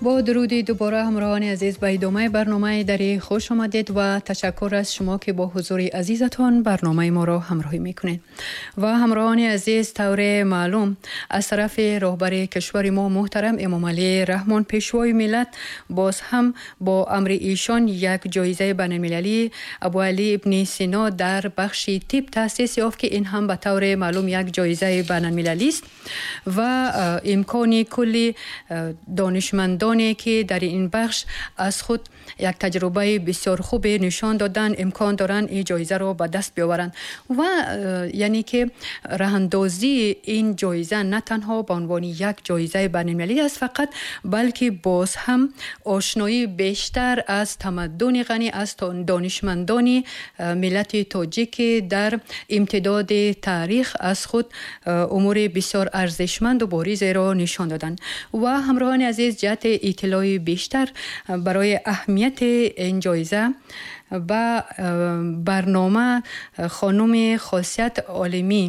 Бо дуруди дубора, ҳамроҳони азиз, ба идомаи барномаи Дарӣ хуш омадед ва ташаккур аз шумо, ки бо ҳузури азизатон барномаи моро ҳамроҳӣ мекунед. Ва ҳамроҳони азиз, тавре маълум, аз тарафи роҳбари кишвари мо муҳтарам Эмомалӣ Раҳмон, пешвои миллат, боз ҳам бо амри эшон як ҷоизаи байналмилалии Абуалӣ ибни Сино дар бахши тиб таъсис ёфт, ки ин ҳам ба тавре маълум як ҷоизаи байналмилалист ва имкони кулли донишмандоне, ки дар ин бахш аз худ як таҷрибаи бисёр хубе нишон доданд, имкон доранд ин ҷоизаро ба даст биёваранд. Ва яъне ки роҳандозии ин ҷоиза на танҳо ба унвони як ҷоизаи байналмилалӣ аст фақат, балки боз ҳам ошноии бештар аз тамаддуни ғанӣ, аз донишмандони миллати тоҷик, ки дар имтидоди таърих аз худ умури бисёр арзишманду боризеро нишон доданд. Ва ҳамроҳони азиз, ҷиҳати иттилои бештар барои аҳамияти ин ҷоиза ба барнома хонуми Хосият Олимӣ.